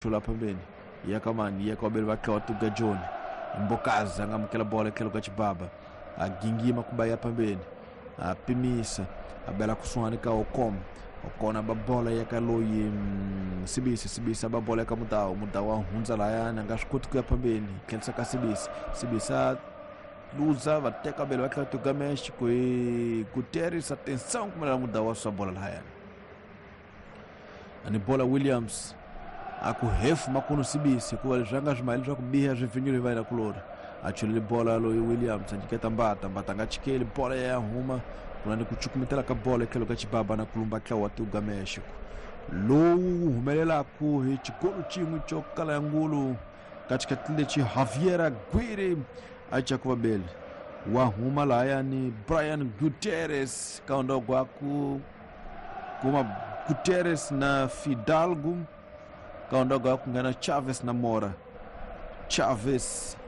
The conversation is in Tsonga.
Tlula phambeni ya ka mani ya ka vabeli va tlawa tuga John Mbokazi a nga amukela bola etlhelo ka Chibaba a gingima ku ba ya phambeni a pimisa a bela kusuhani ka Okom Okon a ba bola ya ka loyi Sibisi Sibisi a ba bola ya ka Mudawu Mudawu a hundza lahayani a nga swi koti ku ya phambeni tlherisa ka Sibisi Sibisi a luza va teka bele va tlhela tuga Mexico hi Guterres atenção kumelela Mudawu a susa bola lahayani ani bola Williams a ku hefu makunu Sibisi hikuva leswi a nga swi maheli swa ku biha swi pfinyile hi vayena kulori a chulele bola loyi Williams a nyiketa Mbata Mbata a nga chikeli bola ya huma ku na ni ku cukumetela ka bola etlhelo ka Chibaba na kulumba ntlawa wa Tuga Mexico lowu wu humelelaku hi xikolo xin'we xo kala ya ngulu ka xikhathi lexi Javier Aguirre a caku vabeli wa huma lahayani Brian Gutierrez kaondogo aku kuma Guterres na Fidalgo kaondogo aku nghena Chavez na Mora Chavez.